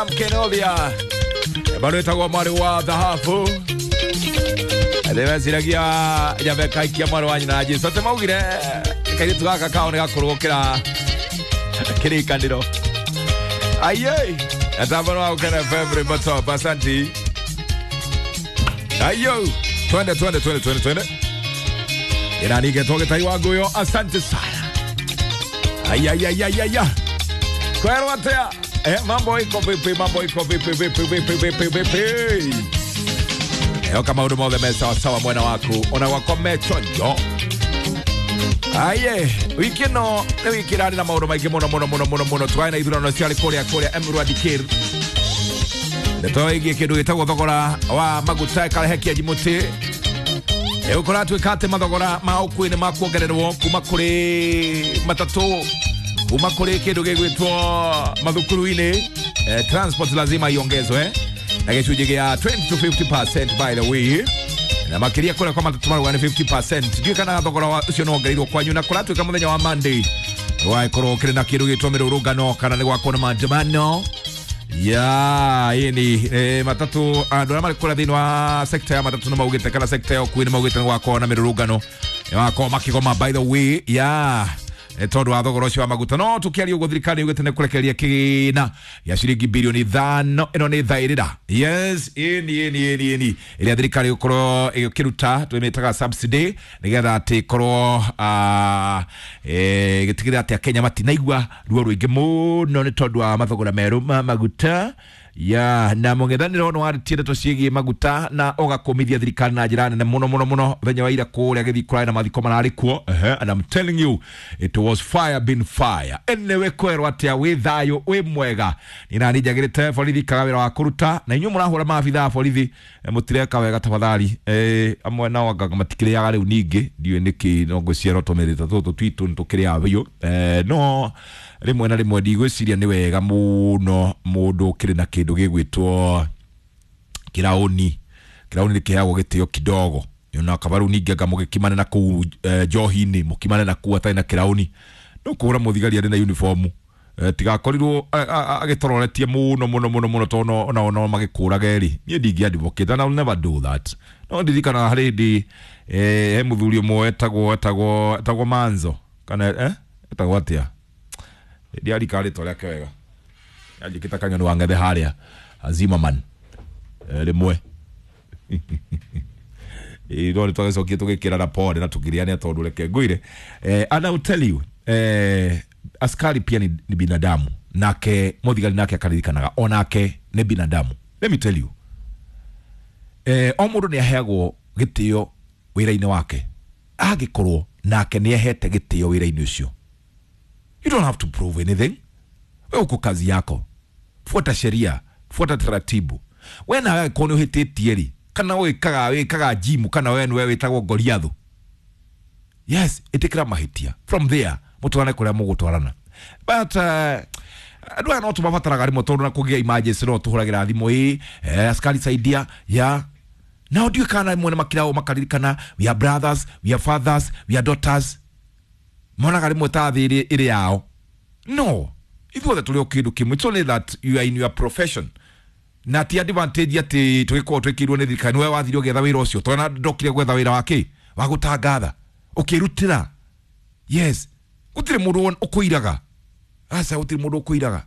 Mkenovia bado ĩtagwo mwarĩ wa thahabu ndĩmeciragia nyambe kaikia mwarĩ wa nyina na Jesu atĩ maugire kairĩtu gaka kao nĩ gakũrũ gũkĩra kĩrĩkanĩro. Aye, atambano wa Ukena FM Ribotop, asanti. Ayo, twende twende twende twende twende. Inanige toge taiwa guyo, asante sana. Ayayayayaya. Kwero atea. Mambo iko vipi, mambo iko vipi vipi vipi vipi vipi. Oka maundu mothe me sawa sawa mwena waku ona gwakwa me chonjo. Aye, wiki ĩno nĩ wiki ĩrarĩ na maũndũ maingĩ mũno mũno mũno mũno mũno. Twarĩ na ithurano ciarĩ kũrĩa kũrĩa Emurua Dikirr. Ndeto ĩgiĩ kĩndũ gĩtagwo thogora wa maguta ĩkarehe kĩanji mũtĩ. Ũkũratuĩka atĩ mathogora ma ũkui nĩ makuongererwo kuma kũrĩ matatũ, kuma kũrĩ kĩndũ gĩgwĩtwo mathukuru-inĩ. Transport lazima iongezwe na gĩcunjĩ gĩa 20 to 50% by the way, na makiria kũrĩa kwa matatũ marauga nĩ 50%. Ndiũĩ kana thogora ũcio nĩ wongereirwo kwanyu, na kũratuĩka mũthenya wa Monday wagĩkorwo ũkĩrĩ na kĩndũ gĩtwo mĩrũrũngano kana nĩ gwakorwo na maandamano ya ini matatu. Andũ arĩa marĩ kũrĩa thĩinĩ wa sekta ya matatu nĩ maugĩte kana sekta ya ũkui nĩ maugĩte nĩ gwakorwo na mĩrũrũngano, nĩ wakorwo makĩgoma by the way ya tondũ wa thogora ũcio wa maguta. No tũkĩaria ũguo thirikari yugĩte nĩ kũrekereria kĩgĩna gĩa ciringi bilioni 5, ĩno nĩ thaĩrĩra. Yes, ĩni ĩni ĩni ĩni ĩrĩa thirikari ĩgũkorwo ĩkĩruta tũmĩtaga subsidy nĩgetha atĩ ĩkorwo ĩgĩtigĩrĩra atĩ Akenya matinaigua ruo rũingĩ mũno nĩ tondũ wa mathogora merũ ma maguta ya na mũng'ethanĩro nĩ warĩtie ndeto ciĩgiĩ maguta na ũgakũmithia thirikari na njĩra nene mũno mũno mũno. Mũthenya wa ira kũrĩa gĩthiĩ kũrarĩ na mathiko mararĩ kuo, and I'm telling you it was fire been fire. Anyway, kwerwo atĩa, wĩ thayũ wĩ mwega. Niĩ nani njagĩrĩte borithi kaga wĩra wa kũruta, na inyuĩ mũrahũra maabitha a borithi, mũtireka wega tafadhali. Amwe nao anga matikĩrĩaga rĩu ningĩ ndiũĩ nĩkĩ, no ngwĩciria no tũmĩrĩte tũtũ twitũ nĩtũkĩrĩaga biũ. No rĩmwe na rĩmwe ndigwĩciria nĩ wega mũno mũndũ ũkĩrĩ na kĩndũ gĩgwĩtwo kĩraũni. Kĩraũni nĩ kĩheagwo gĩtĩo kidogo, ona kaba rĩu ningĩ anga mũgĩkimane na kũu njohi-inĩ, mũkimane na kũu atarĩ na kĩraũni, no kũhũra mũthigari arĩ na uniform, tigakorirwo agĩtororetie mũno mũno mũno mũno, tondũ onao no magĩkũrage rĩ. Niĩ ndingĩ advocate and I'll never do that. No ndirikanaga harĩ hĩndĩ he mũthuri ũmwe etagwo Manzo kana etagwo atĩa, ndiarika rĩtwa rĩake wega, anjĩkĩte kang'ano wa ng'ethe harĩa Zimmerman rĩmwe no nĩ twagĩcokie tũgĩkĩrana pole na tũkĩrĩania tondũ reke ngwĩre, and I will tell you, askari pia ni binadamu, nake mũthigari nake akaririkanaga onake nĩ binadamu. Let me tell you, o mũndũ nĩ aheagwo gĩtĩo wĩra-inĩ wake angĩkorwo nake nĩ ahete gĩtĩo wĩra-inĩ ũcio. You don't have to prove anything. Wewe uko kazi yako, fuata sheria, fuata taratibu. We nawe angĩkorwo nĩ ũhĩtĩtie rĩ, kana wĩkaga gym, kana we nĩwe wĩtagwo Goliathu, yes, ĩtĩkĩra mahĩtia, from there mũtwarane kũrĩa mũgũtwarana. But andũ aya no tũmabataraga rĩmwe tondũ na kũgĩa emergency no tũhũragĩra thimũ, ĩ askari saidia ya nao. Ndiũĩ kana rĩmwe nĩ makiragwo makaririkana we are brothers, we are fathers, we are daughters, monaga rĩmwe ta thĩ ĩrĩ yao. No, ithuothe tũrĩ o kĩndũ kĩmwe. It's only that you are in your profession, na ti advantage atĩ tũgĩkorwo twĩkĩirwo nĩ thirikari. Nĩwe wathire ũgĩetha wĩra ũcio, tondũ ndokire gwetha wĩra wa kĩ wa gũtangatha ũkĩrutĩra. Yes, gũtirĩ mũndũ ũkũiraga, aca, gũtirĩ mũndũ ũkũiraga,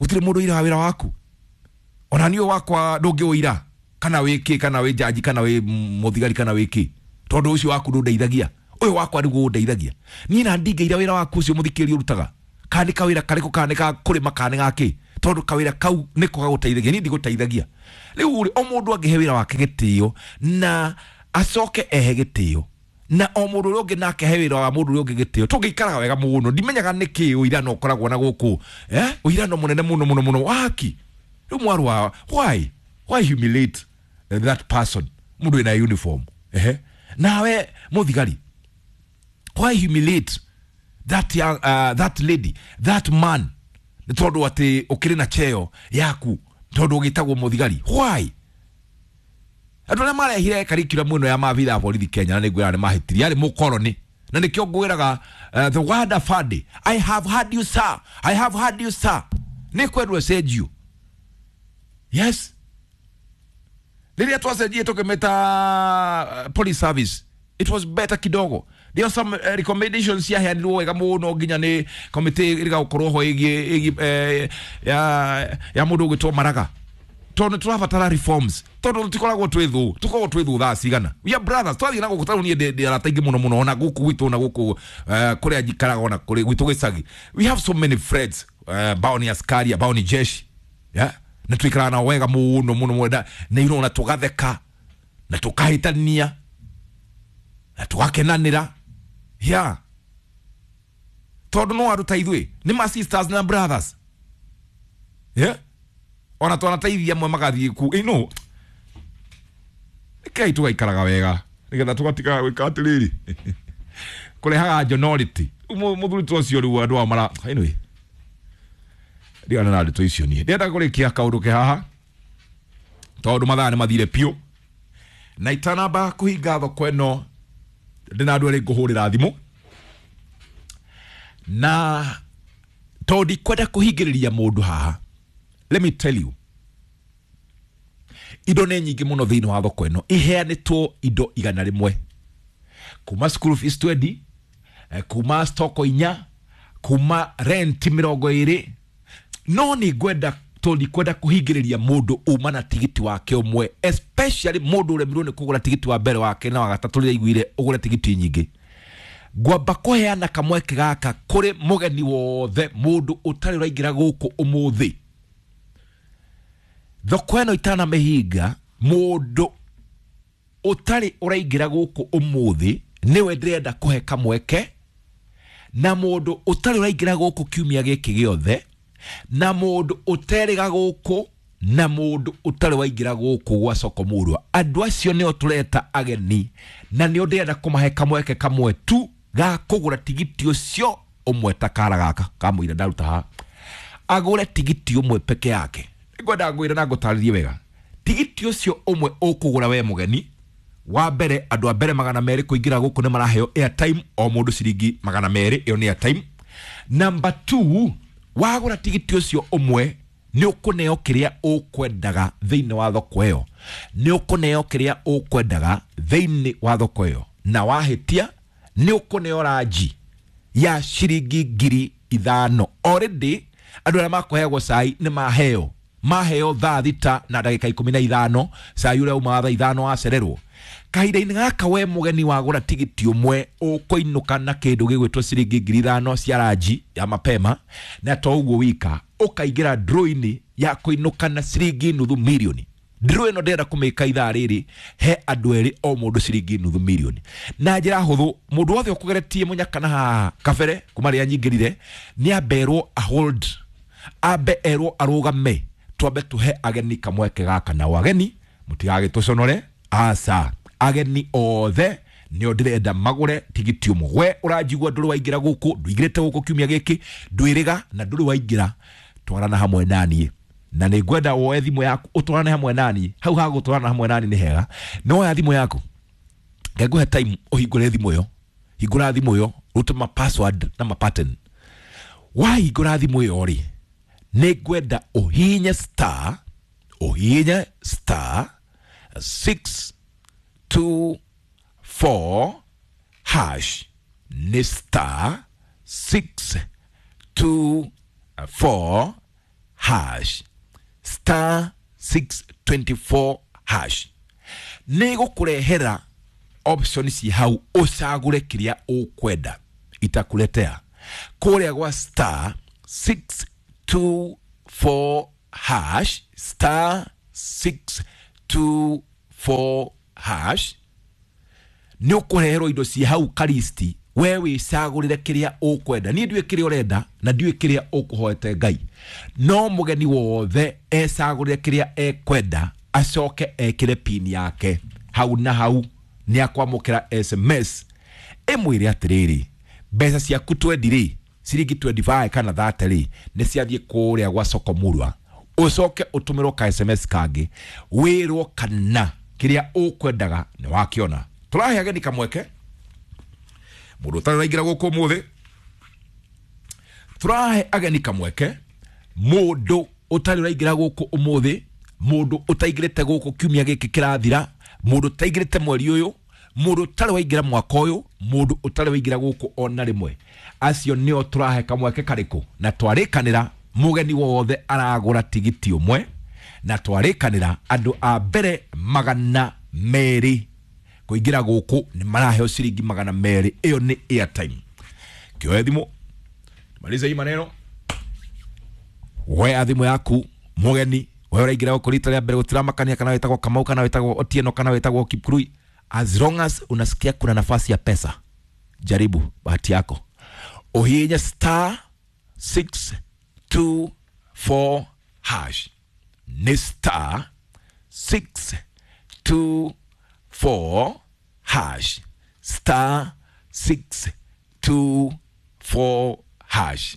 gũtirĩ mũndũ ũiraga wĩra waku. Ona niĩ wakwa ndũngĩũira kana wĩ kĩ, kana wĩ jaji, kana wĩ mũthigari, kana wĩ kĩ, tondũ ũcio waku ndũndeithagia, ũyũ wakwa nĩguo ũndeithagia. Niĩ na ndingĩira wĩra waku ũcio mũthikĩrĩria ũrutaga, kana nĩ kawĩra karĩkũ, kana nĩ ga kũrĩma, kana nĩ ga kĩ, tondũ kawĩra kau nĩko gagũteithagia, niĩ ndigũteithagia. Rĩu rĩ, o mũndũ angĩhe wĩra wake gĩtĩo na acoke ehe gĩtĩo, na o mũndũ ũrĩa ũngĩ nake he wĩra wa mũndũ ũrĩa ũngĩ gĩtĩo, tũngĩikaraga wega mũno. Ndimenyaga nĩkĩ ũirano ũkoragwo na gũkũ, ũirano mũnene mũno mũno mũno waki. Rĩu mwarwa, why humiliate that person mũndũ wĩna uniform? Nawe mũthigari, why humiliate that young, that lady, that man, nĩ tondũ atĩ ũkĩrĩ na cheo yaku, tondũ ũgĩtagwo mũthigari? Why? Andũ arĩa marehire curriculum ĩno ya maabitha a borithi Kenya na nĩ ngwĩra nĩ mahĩtirie, arĩ mũkoroni, na nĩkĩo ngwĩraga, the word afande, I have heard you sir, I have heard you sir. Nĩ kwendwo ĩcenjio. Yes, rĩrĩa twacenjie tũkĩmĩta police service, it was better kidogo. There are some recommendations ciaheanirwo wega mũno nginya nĩ committee ĩrĩga ho ĩgiĩ ya mũndũ ũgwĩtwo Maraga, tondũ tũrabatara reforms, tondũ tũtikoragwo twĩ thũ, tũkoragwo twĩ thũ thaa cigana. We are brothers. Twathiĩ na gũkũ tarĩu niĩ ndĩ arata aingĩ mũno mũno, ona gũkũ gwitũ, ona gũkũ kũrĩa njikaraga, ona kũrĩ gwitũ gĩcagi. We have so many friends ambao ni askari, ambao ni jeshi, yeah? Na tuikaraga nao wega mũno mũno mũno, na you know, na tũgatheka na tũkahĩtania na tũgakenanĩra, yeah, tondũ no andũ ta ithuĩ, nĩ ma sisters na brothers, yeah? Ona twanateithia amwe magathiĩ ku you rekei tũgaikaraga wega nĩgetha tũgatigaga gwĩka atĩrĩrĩ kũrehaga njonority. Mũthuri ta ũcio rĩu andũ ao mara, anyway, ndigana na ndeto icio. Niĩ ndĩrenda kũrĩkia kaũndũ ke haha tondũ mathaa nĩ mathire piũ, na itanamba kũhinga thoko ĩno ndĩna andũ erĩ ngũhũrĩra thimũ, na tondũ ndikwenda kũhingĩrĩria mũndũ haha. Let me tell you, indo nĩ nyingĩ mũno thĩinĩ wa thoko ĩno, iheanĩtwo indo 100, kuma school fees 20, kuma stoko 4, kuma rent 20. No nĩ ngwenda, tondũ ndikwenda kũhingĩrĩria mũndũ uma na tigiti wake ũmwe, especially mũndũ ũremirwo nĩ kũgũra tigiti wa mbere wake na wa gatatũ rĩrĩa aiguire ũgũre tigiti nyingĩ. Ngwamba kũheana kamweke gaka kũrĩ mũgeni wothe, mũndũ ũtarĩ ũraingĩra gũkũ ũmũthĩ thoko ĩno itanamĩhinga. Mũndũ ũtarĩ ũraingĩra gũkũ ũmũthĩ nĩwe ndĩrenda kũhe kamweke, na mũndũ ũtarĩ ũraingĩra gũkũ kiumia gĩkĩ gĩothe, na mũndũ ũterĩga gũkũ, na mũndũ ũtarĩ waingĩra gũkũ gwa soko mũrwa. Andũ acio nĩo tũreta ageni, na nĩo ndĩrenda kũmahe kamweke kamwe tu ga kũgũra tigiti ũcio ũmwe, ta kara gaka kamũira ndaruta haha, agũre tigiti ũmwe peke yake. Ngwenda ngwĩre na ngũtarĩrie wega, tigiti ũcio ũmwe ũkũgũra we mũgeni wa mbere, andũ a mbere 200 kũingĩra gũkũ nĩ maraheo airtime, o mũndũ ciringi 200, ĩyo nĩ airtime. Number 2, wagũra tigiti ũcio ũmwe nĩ ũkũneo kĩrĩa ũkwendaga thĩinĩ wa thoko ĩyo, nĩ ũkũneo kĩrĩa ũkwendaga thĩinĩ wa thoko ĩyo, na wahĩtia nĩ ũkũneo ranji ya ciringi 5,000. Already andũ arĩa makũheagwo cai nĩ maheo thaa 6 na ndagĩka 15, cai ũrĩa umaga thaa 5 wacererwo. Kahinda-inĩ gaka we mũgeni wagũra tigiti ũmwe ũkũinũka na kĩndũ gĩgwĩtwo ciringi 5,000 cia ranji ya mapema, na to ũguo wika ũkaingĩra draw-inĩ ya kũinũka na ciringi 500,000. Draw ĩno ndĩrenda kũmĩka ithaa rĩrĩ he andũ erĩ, o mũndũ ciringi 500,000, na njĩra hũthũ. Mũndũ wothe ũkũgeretie mũnyaka na haha kabere kuma rĩrĩa nyingĩrire nĩ amberwo a hold, ambe erwo arũgame, twambe tũhe ageni kamweke gaka. Nao ageni mũtigagĩtũconore, aca, ageni othe nĩo ndĩrenda magũre tigiti ũmwe. We ũranjigua ndũrĩ waingĩra gũkũ, ndũingĩrĩte gũkũ kiumia gĩkĩ, ndwĩrĩga na ndũrĩ waingĩra, twarana hamwe naniĩ, na nĩ ngwenda woe thimũ yaku ũtwarane hamwe naniĩ. Hau ha gũtwarana hamwe naniĩ nĩ hega, no woya thimũ yaku, ngengũhe time ũhingũre thimũ ĩyo. Hingũra thimũ ĩyo, rute ma password na ma pattern. Wahingũra thimũ ĩyo rĩ, nĩ ngwenda ũhihinye star, ũhihinye star 6 2 4 hash, nĩ star 6 2 4 hash, star 624 hash. Nĩ gũkũrehera option ci hau ũcagũre kĩrĩa ũkwenda. Itakuletea kũrĩa gwa star 6 2 4 hash, star 6 2 4 hash, nĩ ũkũreherwo indo ci hau karisti, we wĩcagũrĩre kĩrĩa ũkwenda. Niĩ ndiũĩ kĩrĩa ũrenda na ndiũĩ kĩrĩa ũkũhoete Ngai, no mũgeni wothe ecagũrĩre kĩrĩa ekwenda, acoke ekĩre pin yake hau na hau nĩ akwamũkĩra SMS ĩmwĩre atĩrĩrĩ, mbeca ciaku 20 rĩ, ciringi 25 kana 30 rĩ, nĩ ciathiĩ kũrĩa gwa soko murwa. Ũcoke ũtũmĩrwo ka SMS kangĩ wĩrwo kana kĩrĩa ũkwendaga nĩ wakĩona. Tũrahe ageni kamweke, mũndũ ũtarĩ ũraingĩra gũkũ ũmũthĩ, tũrahe ageni kamweke Mundu utari uraingira guku umuthi, mundu utaingirite guku kiumia giki kirathira, mundu utaingirite mweri uyu, mundu utari waingira mwaka uyu, mundu utari waingira guku ona rimwe, acio nio turahe kamweke kariku. Na twarikanira mugeni wothe aragura tigiti umwe, na twarikanira andu a mbere 200 kuingira guku ni maraheo ciringi 200. Iyo ni airtime. Kioe thimu maliza hii maneno, woe thimu yaku mugeni we uraingira guku rita ria mbere, gutiramakania kana witagwo Kamau kana witagwo Otieno kana witagwo Kipkurui, as long as unasikia kuna nafasi ya pesa, jaribu bahati yako. Uhinya star 624 hash, ni star 624 hash, star 624 hash.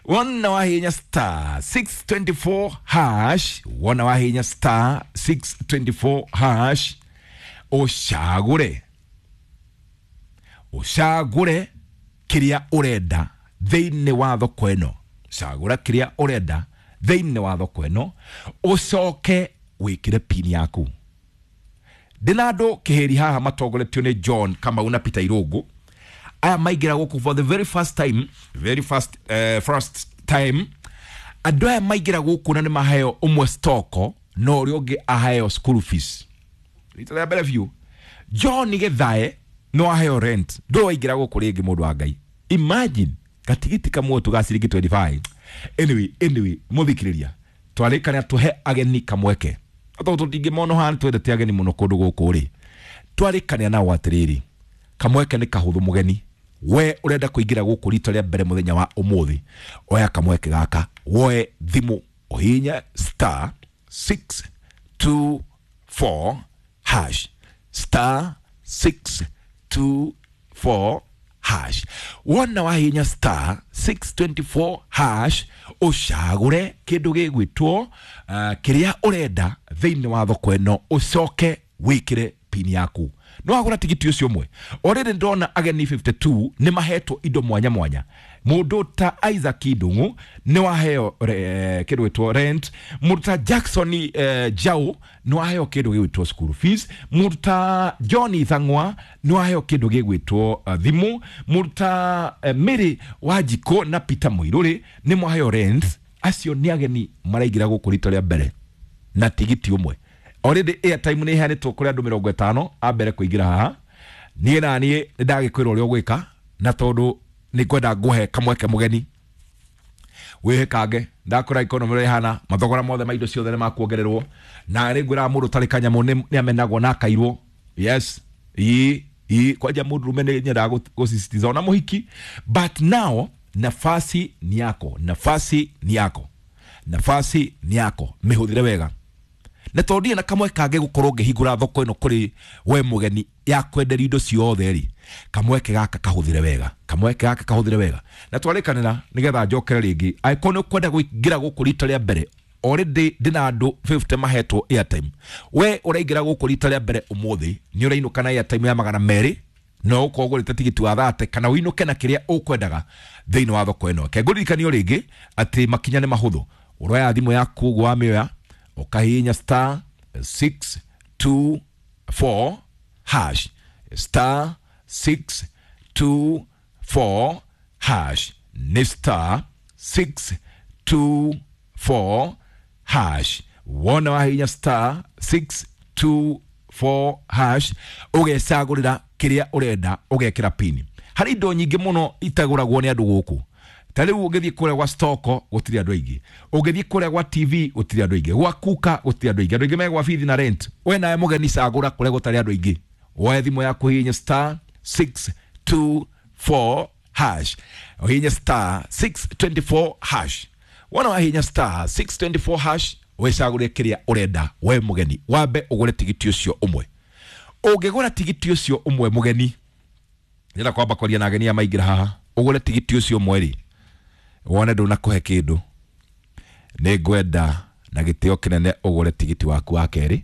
Wona wahinya star 624 hash, wona wahinya star 624 hash, ucagure ucagure kiria urenda thiini wa thoko ino, cagura kiria urenda thiini wa thoko ino, ucoke wikire pini yaku. Ndina andu kihiri haha matongoretio ni John Kamau na Peter Irungu. Aya maingira guku for the very first time, very first first time andu aya maingira guku na ni maheo umwe stoko no uria ungi aheo school fees. Rita ria mbere biu John Githae no aheo rent, ndo waingira guku ringi mundu wa Ngai. Imagine gatigiti kamwe tu ga ciringi 25. Anyway muthikiriria twarikania tuhe ageni kamweke, tondu tũtingĩmona hana twendete ageni muno kundu guku ri, twarikania nao atiriri kamweke ni kahuthu mugeni we urenda kuingira guku rita ria mbere muthenya wa umuthi, oya kamweke gaka, woe thimu uhinya star 624 hash, star 624 hash. Wona wahinya star 624 hash, ucagure kindu gigwitwo kiria urenda thiini wa thoko ino, ucoke wikire pini yaku. No agura tigiti ucio umwe. Already ndona ageni 52 ni mahetwo indo mwanya mwanya. Mundu ta Isaac Ndungu ni waheo kindu gitwo rent, mundu ta Jackson Jau ni waheo kindu gigwitwo school fees, mundu ta John Thang'wa ni waheo kindu gigwitwo thimu, mundu ta Mary Wanjiko na Peter Muiruri ni mwaheo rent. Acio ni ageni maraingira guku rita ria mbere na tigiti umwe. Already airtime ni iheanĩtwo kũrĩ andũ 50 a mbere kũingĩra haha. Niĩ na niĩ nĩ ndagĩkwĩra ũrĩa ũgwĩka, na tondũ nĩ ngwenda ngũhe kamweke mũgeni wĩhĩkange. Ndakwĩra economy ũrĩa ĩhana, mathogora mothe ma indo ciothe nĩ makuongererwo, na nĩ ngwĩraga mũndũ ũtarĩ kanyamũ nĩ amenagwo na akairwo. Yes, ii kwanja mũndũ rũme nĩ nyendaga gũsisitiza ona mũhiki, but now nafasi ni yako, nafasi ni yako, nafasi ni yako, mĩhũthĩre wega. Na tondu na kamwe kange gukorwo ngihingura thoko ino kuri we mugeni ya kwenderia indo ciothe ri, kamweke gaka kahuthire wega, kamweke gaka kahuthire wega. Na twarikanira nigetha njokere ringi, angĩkorwo nĩ ũkwenda kũingĩra gũkũ rita rĩa mbere, already ndina andũ 50 mahetwo airtime. We ũraingĩra gũkũ rita rĩa mbere ũmũthĩ nĩ ũrainũka na airtime ya 200, no ũkorwo ũgũrĩte tigiti wa 30 kana ũinũke na kĩrĩa ũkwendaga thĩinĩ wa thoko ĩno. Ke ngũririkanio rĩngĩ atĩ makinya nĩ mahũthũ. Ũroya thimũ yaku ũguo wamĩoya, ukahihinya star 624 hash, star 624 hash, ni star 624 hash. Wona wahihinya star 624 hash, ugecagurira kiria urenda, ugekira pini. Hari indo nyingi muno itaguragwo ni andu guku. Ta riu ungithie kuria gwa stoko gutiri andu aingi, ungithie kuria gwa TV gutiri andu aingi, gwa kuka gutiri andu aingi, andu aingi me gwa bithi na rent. We nawe mugeni cagura kuria gutari andu aingi. Woe thimu yaku hihinya star 624 hash, hihinya star 624 hash. Wona wahihinya star 624 hash, wecagure kiria urenda we mugeni, wambe ugure tigiti ucio umwe. Ungigura tigiti ucio umwe mugeni, ndĩrenda kwamba kwaria na ageni aya maingĩra haha, ugure tigiti ucio umwe ri, wone ndunakuhe kindu, nĩ ngwenda na gĩtĩo kĩnene ũgũre tigiti waku wa kerĩ,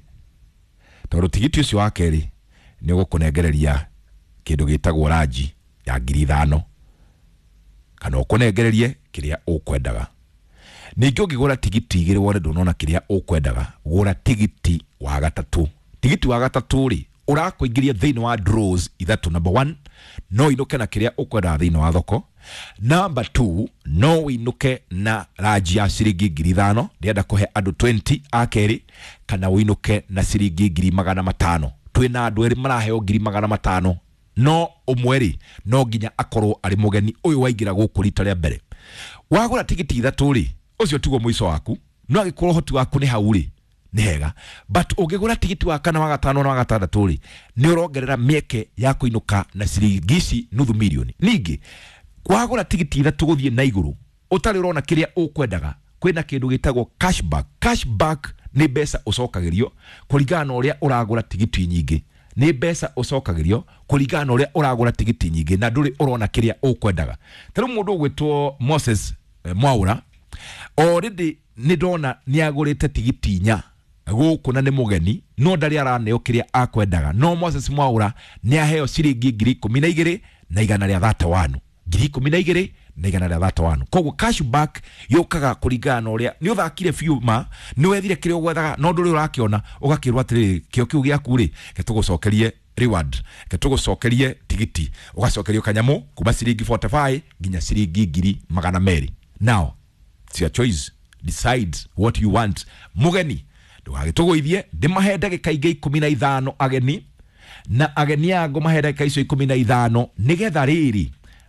tondũ tigiti ũcio wa kerĩ nĩ ũgũkũnengereria kĩndũ gĩtagwo ranji ya 5,000, kana ũkũnengererie kĩrĩa ũkwendaga. Ningĩ ũngĩgũra tigiti igĩrĩ wone ndũnona kĩrĩa ũkwendaga, gũra tigiti wa gatatũ. Tigiti wa gatatũ rĩ, ũrakũingĩria thĩinĩ wa draws ithatũ. Number 1, no inũke na kĩrĩa ũkwendaga thĩinĩ wa thoko. Number 2, no ũinũke na ranji ya ciringi 5,000, ndĩrenda kũhe andũ 20 a kerĩ, kana ũinũke na ciringi 500,000. Twĩna andũ erĩ maraheo 500,000, no ũmwe rĩ no nginya akorwo arĩ mũgeni ũyũ waingĩra gũkũ rita rĩa mbere. Wagũra tigiti ithatũ rĩ, ũcio tiguo mũico waku, no angĩkorwo ũhoti waku nĩ hau rĩ, nĩ hega, but ũngĩgũra tigiti wa kana wa gatano na wa gatandatũ rĩ, nĩ ũrongerera mĩeke ya kũinũka na ciringi ici nuthu mirioni. Ningĩ wagũra tigiti ithatũ gũthiĩ na igũrũ ũtarĩ ũrona kĩrĩa ũkwendaga, kwĩna kĩndũ gĩtagwo cashback. Cashback nĩ mbeca ũcokagĩrio kũringana na ũrĩa ũragũra tigiti nyingĩ, nĩ mbeca ũcokagĩrio kũringana na ũrĩa ũragũra tigiti nyingĩ na ndũrĩ ũrona kĩrĩa ũkwendaga. Ta rĩu mũndũ ũgwĩtwo Moses Mwaura already nĩ ndona nĩ agũrĩte tigiti inya gũkũ na nĩ mũgeni, no ndarĩ araneo kĩrĩa akwendaga. No Moses Mwaura nĩ aheo ciringi 12,131, 12,131. Koguo cashback yũkaga kũringana na ũrĩa nĩ ũthakire biũ, ma nĩ wethire kĩrĩa ũgwethaga no ndũrĩ ũrakĩona, ũgakĩrwo atĩrĩrĩ, kĩo kĩu gĩaku rĩ, gĩtũgũcokerie reward, gĩtũgũcokerie tigiti, ũgacokerio kanyamũ kuma ciringi 45 nginya ciringi 200,000. Now it's your choice, decide what you want. Mũgeni ndũgagĩtũgũithie, ndĩmahe ndagĩka ingĩ 15 ageni, na ageni aya ngũmahe ndagĩka icio 15 nĩgetha rĩrĩ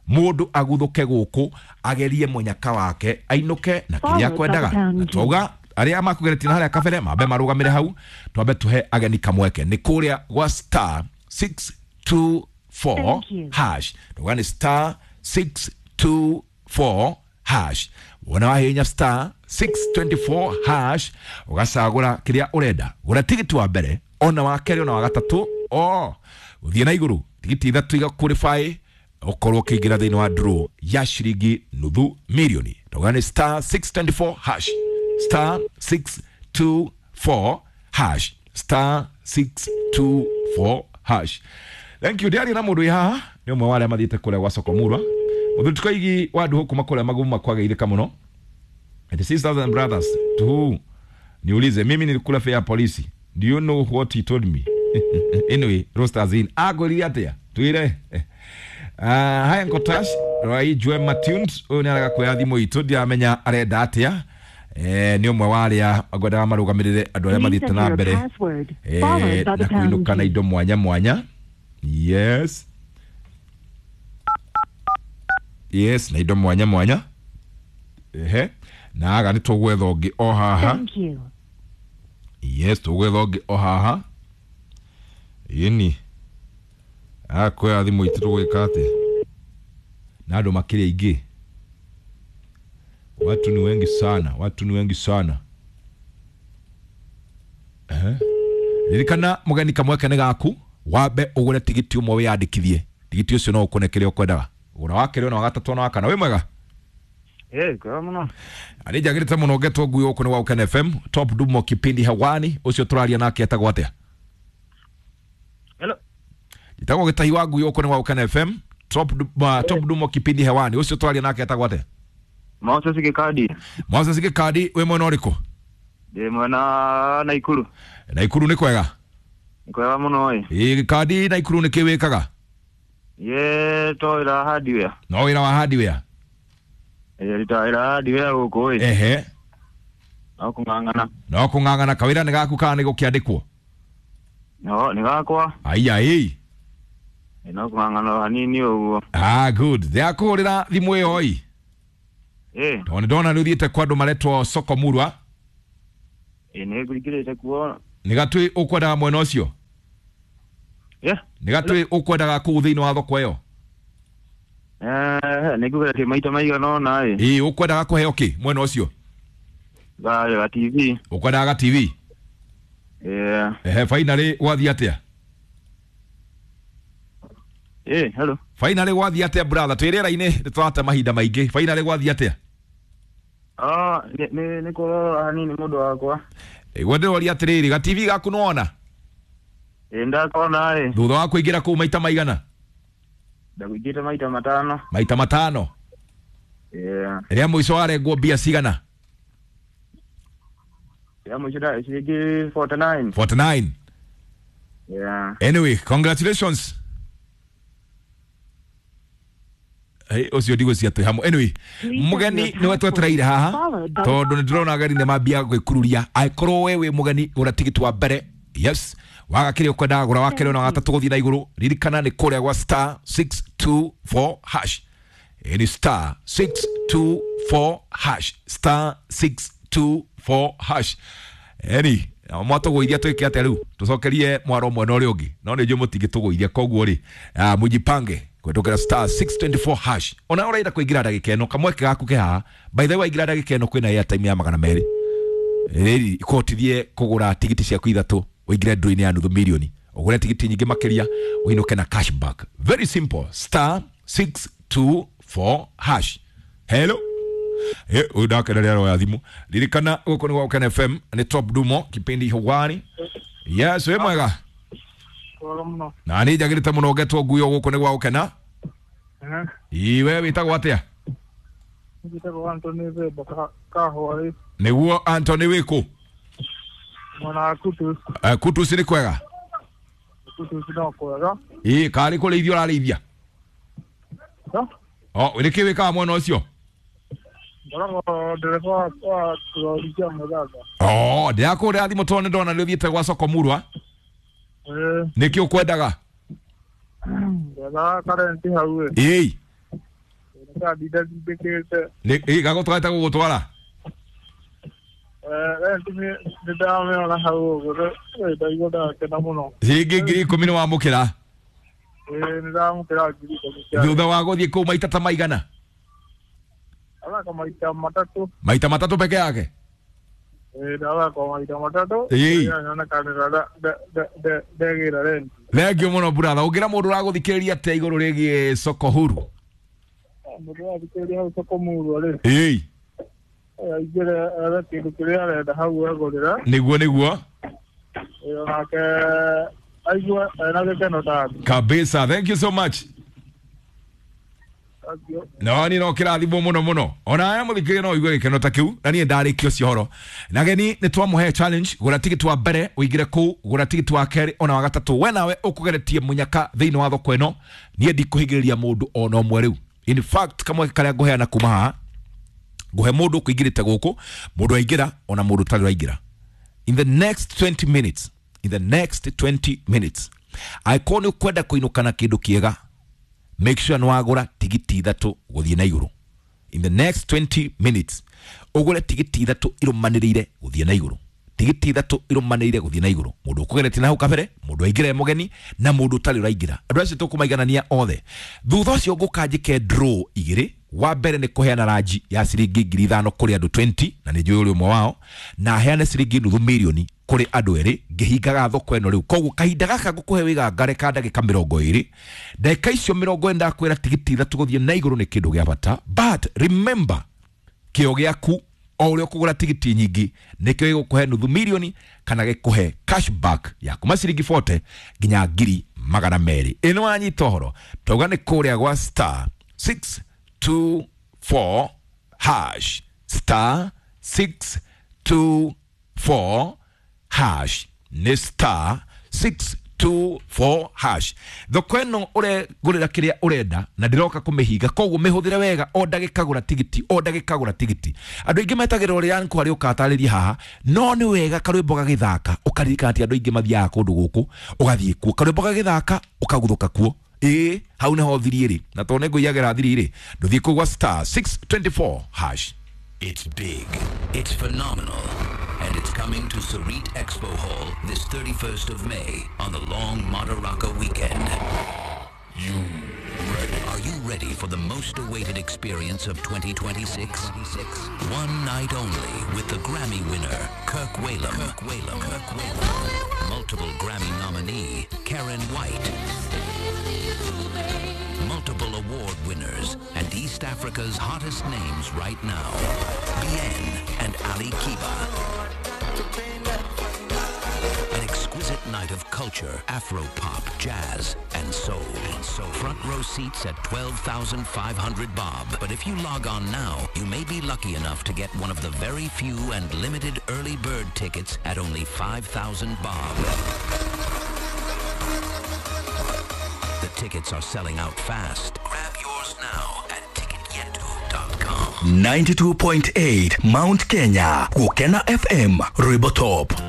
mũndũ aguthũke gũkũ agerie mũnyaka wake ainũke na kĩrĩa akwendaga. Na twauga arĩa makũgeretie na harĩa kabere mambe marũgamĩre hau, twambe tũhe ageni kamweke. Nĩ kũrĩa gwa star 624 hash, ndauga nĩ star 624 hash. Wona wahihinya star 624 hash ũgacagũra kĩrĩa ũrenda. Gũra tigiti wa mbere ona wa kerĩ ona wa gatatũ, o ũthiĩ na igũrũ tigiti ithatũ igaqualify ũkorwo ũkĩingĩra thĩinĩ wa draw ya ciringi nuthu mirioni. Ndauga nĩ star 624 hash, star 624 hash, star 624 hash. Thank you. Ndiaria na mũndũ wĩ haha nĩ ũmwe wa arĩa mathiĩte kũrĩa gwa Soko Murwa. Mũthuri Tukaigi wa andũ kuma kũrĩa magumu makwagĩirĩka mũno. The sisters and brothers to who niulize, mimi nilikula fare ya polisi, do you know what he told me? Anyway, rosters in agorire atĩa twire. Haya nkotash rai jwe matunes uyu ni araga kuoya thimu itu ndiramenya arenda atia. Ni ũmwe wa arĩa ngwendaga marũgamĩrĩre andũ arĩa mathiĩte na mbere na kũinũka na indo mwanya mwanya. Yes, yes, na indo mwanya mwanya. Ehe, na aga nĩ tũgwetha ũngĩ o haha. Yes, tũgwetha ũngĩ o haha. Ĩni akoya thimũ itũ tũgwĩka atĩa na andũ makĩrĩ aingĩ. Watu ni wengi sana, watu ni wengi sana. Ririkana mũgeni kamweke nĩ gaku, wambe ũgũre tigiti ũmwe wĩyandĩkithie. Tigiti ũcio no ũkũne kĩrĩa ũkwendaga. Gũra wa kerĩ ona wa gatatũ ona wa kana. Wĩ mwega? Kwega mũno. Nĩ njagĩrĩte mũno ngetwo ngui gũkũ nĩ gwa Ũkene FM Top Dumo kipindi hewani. Ũcio tũraria nake etagwo atĩa? Hello. Njĩtagwo Gĩtahi wa ngui gũkũ nĩ gwa Ũkene FM Top Dumo kipindi hewani. Ũcio tũraria nake etagwo atĩa? Moses Gikadi. Moses Gikadi, wĩ mwena ũrĩkũ? Ndĩ mwena Naikuru. Naikuru nĩ kwega? Nĩ kwega mũno ĩ. Ĩ Gikadi, Naikuru nĩ kĩ wĩkaga? Ye to wĩra hardware. No wĩra wa hardware? Ĩ rita wĩra hardware gũkũ ĩ. Ehe. No kũng'ang'ana. No kũng'ang'ana, kawĩra nĩ gaku kana nĩ gũkĩandĩkwo? No, nĩ gakwa. Aiya ĩ. No kũng'ang'ana hanini ũguo. Ah, good. Ndĩrakũhũrĩra thimũ ĩyo ĩ. Tondũ nĩ ndona nĩ ũthiĩte kwa andũ maretwo Soko Murwa. Ĩ nĩ ngũingĩrĩte kuo. Nĩ gatwĩ ũkwendaga mwena ũcio? Nĩ gatwĩ ũkwendaga kũu thĩinĩ wa thoko ĩyo? Nĩ ngũgeretie maita maigana ũna ĩ. Ĩ ũkwendaga kũheo kĩ mwena ũcio? Ga TV. Ũkwendaga ga TV? Ehe, finally gwathiĩ atĩa? Hello. Finally gwathiĩ atĩa brother? Twĩ rĩera-inĩ nĩ tũrate mahinda maingĩ. Finally gwathiĩ atĩa? Nĩ kũrora hanini mũndũ wakwa. Ĩguo ndĩroria atĩrĩrĩ, ga TV gaku nĩwona? Ĩ ndakona ĩ. Thutha wa kũingĩra kũu maita maigana? Ndakũingĩte maita matano. Maita matano? Ĩ. Rĩa mũico warengwo mbia cigana? Ya mũico ciringi 49. 49. Yeah. Anyway, congratulations. Hey, ũcio ndigwĩciria twĩ hamwe. Anyway, mũgeni nĩwe twetereire haha tondũ nĩndĩrona ageni nĩ mambia gwĩkururia. Angĩkorwo we wĩ mũgeni gũra tigiti wa mbere, yes, waga kĩrĩa ũkwendaga gũra wa kerĩ na wa gatatũ gũthiĩ na igũrũ. Ririkana nĩ kũrĩa gwa star 624 hash. Ĩ nĩ star 624 hash, star 624 hash. Eni mwatũgũithia twĩke atĩa rĩu? Tũcokerie mwaro mwena ũrĩa ũngĩ, no nĩ njũĩ mũtingĩtũgũithia, koguo rĩ mũjipange kũhetũkĩra star 624 hash. Ona ũrenda kũingĩra ndagĩka ĩno, kamweke gaku ke haha. By the way, waingĩra ndagĩka ĩno kwĩna airtime ya 200. Rĩrĩ ikũhotithie kũgũra tigiti ciaku ithatũ ũingĩre draw-inĩ ya nuthu milioni, ũgũre tigiti nyingĩ makĩria ũinũke na cashback. Very simple, star 624 hash. Hello. Ũyũ ndakenera aroya thimũ. Ririkana gũkũ nĩ gwa Gũkena FM, nĩ Top Dumo, kipindi hewani. Yes, wĩ mwega? Mwega mũno. Na nĩ njagĩrĩte mũno ngetwo nguyo gũkũ nĩ gwa Gũkena. Ĩ we wĩtagwo atĩa? Njĩtagwo Anthony Themba Kahũa. Nĩguo Anthony wĩkũ? Mwena wa Kutus. Kutus nĩ kwega? Kutus no kwega. Ĩ karĩ kũrĩithia ũrarĩithia? O nĩkĩ wĩkaga mwena ũcio? Ngoragwo ndereba wa rori cia mũthanga. Oh, ndĩrakũrĩra thimũ tondũ nĩndona nĩ ũthiĩte gwa soko murwa. Nĩkĩ ũkwendaga? Ndethaga karenti hau ĩ. Ĩĩ. Nĩkandinda ndindĩkĩte. Ĩ gagũtwarĩte gũgũtwara? Renti nĩndamĩona hau ũguo, ndaigua ndakena mũno. Ciringi 10,000 nĩwamũkĩra? Ĩĩ nĩndamũkĩra 10,000. Thutha wa gũthiĩ kũu maita ta maigana? Athaka maita matatũ. Maita matatũ peke yake? Ĩĩ ndathaka maita matatũ. Ĩĩ. Nyonekanĩra ndegĩra renti. Thengiũ mũno brother. Ũngĩra mũndũ ũragũthikĩrĩria atĩa igũrũ rĩgiĩ soko huru? Mũndũ ũrathikĩrĩria hau soko murwa rĩ. Ĩĩ. Aingĩre ethe kĩndũ kĩrĩa arenda hau egũrĩra. Nĩguo nĩguo. Ĩĩ onake aigue ena gĩkeno tani. Kabisa. Thank you so much. No ni no kĩrathimwo mũno mũno. Ona aya mũthikĩrĩria no ũigue gĩkeno ta kĩu, na niĩ ndarĩkia ũcio ũhoro. Na geni nĩ twamũhe challenge, gũra tigiti wa mbere ũingĩre kũu, gũra tigiti wa kerĩ ona wa gatatũ. We nawe ũkũgeretie mũnyaka thĩinĩ wa thoko ĩno. Niĩ ndikũhingĩrĩria mũndũ ona ũmwe rĩu. In fact, kamweke karĩa ngũheana kuma haha, ngũhe mũndũ ũkũingĩrĩte gũkũ, mũndũ aingĩra ona mũndũ ũtarĩ ũraingĩra. In the next 20 minutes, in the next 20 minutes, angĩkorwo nĩ ũkwenda kũinũka na kĩndũ kĩega, make sure nĩwagũra tigiti ithatũ gũthiĩ na igũrũ. In the next 20 minutes, ũgũre tigiti ithatũ irũmanĩrĩire gũthiĩ na igũrũ. Tigiti ithatũ irũmanĩrĩire gũthiĩ na igũrũ. Mũndũ ũkũgeretie na hau kabere, mũndũ aingĩra e mũgeni na mũndũ ũtarĩ ũraingĩra. Andũ acio tũkũmaiganania othe. Thutha ũcio ngũka njĩke draw igĩrĩ. Wa mbere nĩ kũheana ranji ya ciringi 5,000 kũrĩ andũ 20, na nĩ njũĩ ũrĩ ũmwe wao, na heane ciringi nuthu milioni kũrĩ andũ erĩ ngĩhingaga thoko ĩno rĩu. Koguo kahinda gaka ngũkũhe wĩgangare ka ndagĩka 20. Ndagĩka icio 20 ndakwĩra tigiti ithatũ gũthiĩ na igũrũ nĩ kĩndũ gĩa bata. But remember, kĩo gĩaku o ũrĩa ũkũgũra tigiti nyingĩ nĩkĩo gĩgũkũhe nuthu milioni kana gĩkũhe cashback ya kuma ciringi 40 nginya 200,000. Ĩno wanyita ũhoro, tauga nĩ kũrĩa gwa star 624 hash, star 624 hash, nĩ star 624 hash. Thoko ĩno ũregũrĩra kĩrĩa ũrenda na ndĩroka kũmĩhinga, koguo mĩhũthĩre wega. O ndagĩka gũra tigiti, o ndagĩka gũra tigiti. Andũ aingĩ metagĩrĩra ũrĩa nkwarĩ ũkatarĩria haha, no nĩ wega karwĩmbo gagĩthaka ũkaririkana atĩ andũ aingĩ mathiaga kũndũ gũkũ, ũgathiĩ kuo karwĩmbo gagĩthaka ũkaguthũka kuo. Ĩĩ hau nĩho thiri ĩrĩ, na tondũ nĩngũiyagĩra thiri ĩrĩ, ndũthiĩ kũu gwa star 624 hash. It's big, it's phenomenal, and it's coming to Sarit Expo Hall this 31st of May on the long Madaraka weekend. You ready? Are you ready for the most awaited experience of 2026? One night only with the Grammy winner, Kirk Whalum. Kirk Whalum. Kirk Whalum. Multiple Grammy nominee, Karen White. Multiple award winners and East Africa's hottest names right now, Bien and Ali Kiba. An exquisite night night of culture, Afro-pop, jazz, and soul. Front row seats at 12,500 bob. But if you log on now, you may be lucky enough to get one of the very few and limited early bird tickets at only 5,000 bob. The tickets are selling out fast. Grab yours now at ticketyetu.com. 92.8 Mount Kenya Gukena FM Rwimbo Top.